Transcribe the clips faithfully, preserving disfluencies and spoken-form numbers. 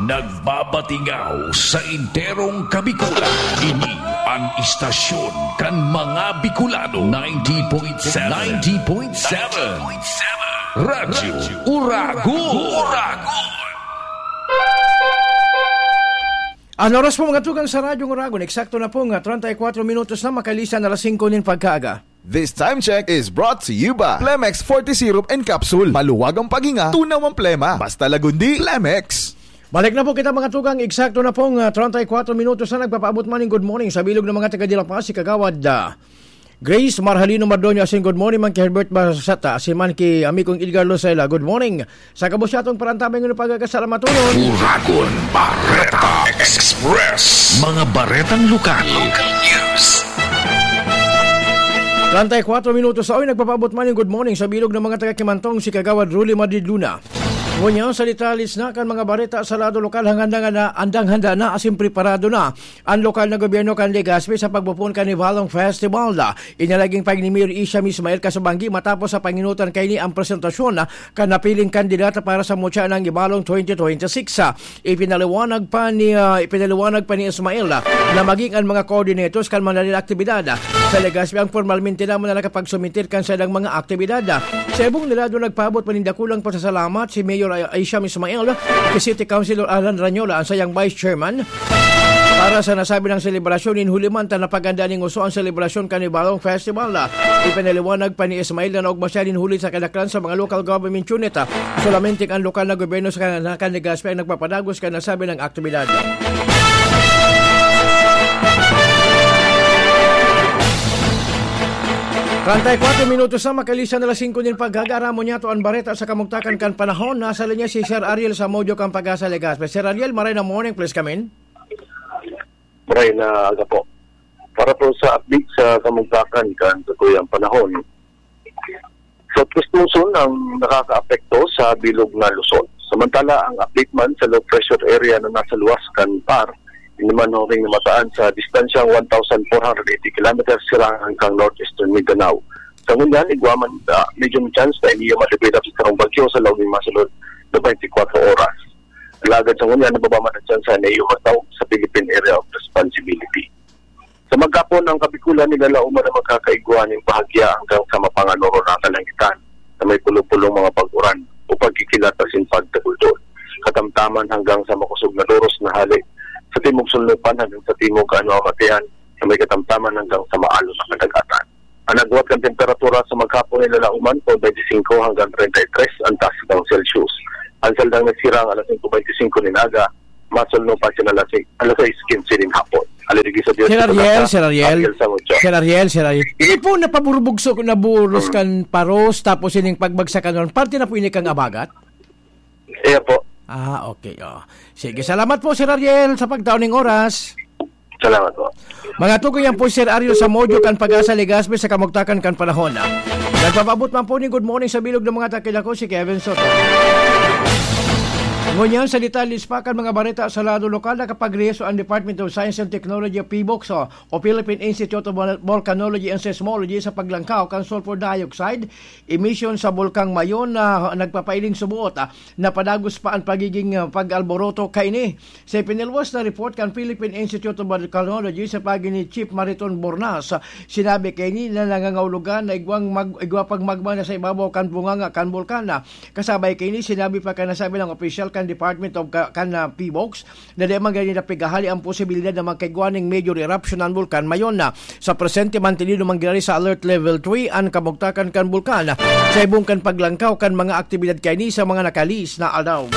Nagbabatingaw sa enterong Kabikulan. Ini an istasyon kan mga Bicolano. Ninety point seven. Ninety point seven. Radyo Uragon. An oras po, mga tugang, sa Radyo Uragon, eksakto na po nga treinta y cuatro minutos na makalisan alas singko nin pagkaaga. This time check is brought to you by Plemex forty Syrup and Capsule. Maluwag ang paghinga, tunaw ang plema. Basta Lagundi, Plemex. Balik na po kita, mga tugang. Eksakto na pong, ah, treinta y cuatro minutos na nagpapaabot man ning good morning sa bilog ng mga taga Dela Paz, si Kagawad, ah, Grace Marhalino Mardoño, asin good morning man ki Herbert Basata, asin man ki amigong Edgar Lucela. Good morning. Sa gabos niyatong parantabay ng pagkakasalamat, Uragon Bareta Express. Mga baretang lokal. Local news. Treinta y cuatro minutos sa oy, nagpapaabot man yung good morning sa bilog ng mga taga Kimantong, si Kagawad Rolly Madrid Luna. Ngunyan, sa detalles na kan mga bareta sa lado lokal, hanggang na, andang handa na, asin preparado na ang lokal na gobyerno kan Legazpi sa pagpopoon kan Ibalong Festival. Inalaging pag ni Mayor Isham Ismail kasubanggi matapos sa panginutan kaini ang presentasyon, ah, kan napiling kandidata para sa mutya ng Ibalong twenty twenty-six. Ah, ipinaliwanag pa ni, ah, ipinaliwanag pa ni Ismail, ah, na maging ang mga coordinators kan mananila aktibidad, ah, sa Legazpi ang formalmente naman na nakapagsumitir kan saindang mga aktibidad. Ah, sa ibong nila, doon nagpaabot pa nin dakulang pasasalamat si Mayor Ay-, Isham Ismail, si City Councilor Alan Ranyola, ang sayang Vice Chairman, para sa nasabi ng selebrasyon. Nin huli man ta napaganda ning uso ang selebrasyon kan Ibalong Festival. Ipinaliwanag pa ni Ismail na naugma siya nin huli sa kadaklan sa mga local government unit. Solamente ang lokal na gobyerno sa kan-, kan Legazpi ang nagpapadagos kan nasabi ng aktibidad. Treinta y cuatro minutos na makalisan alas singko nin pagkaaga. Aramon niyato an bareta sa kamugtakan kan panahon. Nasa linya si Sir Ariel Samudio kan Pag-asa Legazpi. Sir Ariel, maray na morning, please come in. Maray na aga po. Para po sa update sa kamugtakan kan satuyang panahon, sa Tustoson ang nakakaapekto sa bilog na Luzon. Samantala, ang update man sa low pressure area na nasa luwas kan P A R, ini man huring namataan sa distansyang one thousand four hundred eighty kilometers sirangan kan northeastern Mindanao. Sa ngunyan, igwa man, ah, medium chance na ini madebela sa sarong bagyo sa laog nin masunod na twenty-four oras. Alagad sa ngunyan, nababa man ang tsansa na iyo magtaog sa Philippine Area of Responsibility. Sa maghapon, ang Kabikulan nilalaoman na magkakaigwa nin bahagya hanggang sa mapanganoro na kalangitan na may pulo-pulong mga pag-uran o pagkikilat asin pagtabuldol. Katamtaman hanggang sa makusog na doros na hale sa timog sulnupan hanggang sa timog kaano-amatean na may katamtaman hanggang sa maalon na kadagatan. Ang agwat kan temperatura sa maghapon nilalaoman po twenty-five hanggang treinta y tres ang taas kan Celsius. Ang saldang nagsirang alas singko beintisinko nin aga, masulno pa siya alas sais, alas sais quince nin hapon. Alirigi sa Diyos Sir sa Ariel, pagkaka-, Sir Ariel. Ariel Samudio. Sir Ariel, Sir Ariel. Hindi po napaburbugso, naburos Mm. kan paros, tapos ining pagbagsakan nun. Parte na po ini kang abagat? Iya po. Ah, okay. Oh. Sige, salamat po, Sir Ariel, sa pagtaon ng oras. Salamat po. Mga tukoy, yan po si Sir Ariel Samudio kan Pag-asa Legazpi sa kamugtakan kan panahon. Nagpapaabot man po ni good morning sa bilog ng mga takil, ako si Kevin Soto. Ngunyan sa detalles pa kan mga bareta sa lado lokal, nakapagrehiso ang Department of Science and Technology o PHIVOLCS o, o Philippine Institute of Vol-, Volcanology and Seismology sa paglangkaw kan sulfur dioxide emission sa Bulkang Mayon na nagpapailing suboot, ah, na padagos pa ang pagiging, ah, pag-alboroto kaini. Sa ipinalwas na report kan Philippine Institute of Volcanology sa pagi ni Chief Mariton Bornas, sinabi kaini na nangangahulugan na igwang mag-, igwa pang magma na sa ibabaw kan bunganga kan bulkan. Kasabay kaini, sinabi pa kan nasabi ng opisyal kan Department of Ka-, kan, ah, PHIVOLCS, na di man gani napighahali ang posibilidad na magkaigwa ning major eruption ang bulkan Mayon. Sa presente, mantinido man giraray sa Alert Level three an kamugtakan kan bulkan sa ibong kan paglangkaw kan mga aktibidad kaini sa mga nakalihis na aldaw.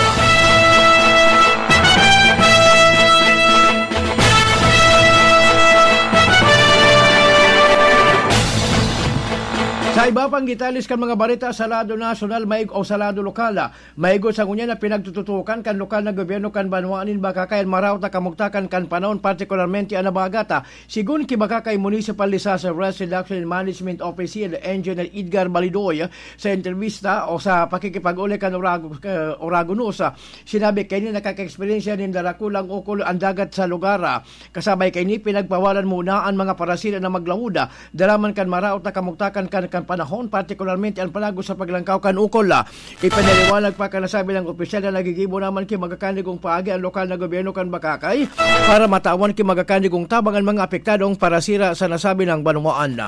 Sa iba pang detalles kan mga bareta sa lado nasyonal, maig-, o sa lado lokal, maigo sa ngunyan na pinagtututukan kan lokal na gobyerno kan banwa nin Bacacay an maraot na kamugtakan kan panahon, partikularmente an habagat. Sigon ki Bacacay Municipal Disaster Risk Reduction and Management Officer Engineer Edgar Balidoy sa entrevista o sa pakikipag-uli kan Orago-, eh, Oragonos, sinabi kaini nakaka-eksperyensya nin darakulang ukol an dagat sa lugar. Kasabay kaini, pinagpawalan muna an mga parasira na maglawod, dara man kan maraot na kamugtakan kan panahon, partikularmente an panagos sa paglangkaw kan ukol. Ipinaliwanag pa kan nasabing opisyal na naggigibo naman ki magakanig kong paagi ang lokal na gobyerno kan Bakakay para matawan ki magakanig kong tabang an mga apektadong parasira sa nasabing banwaan.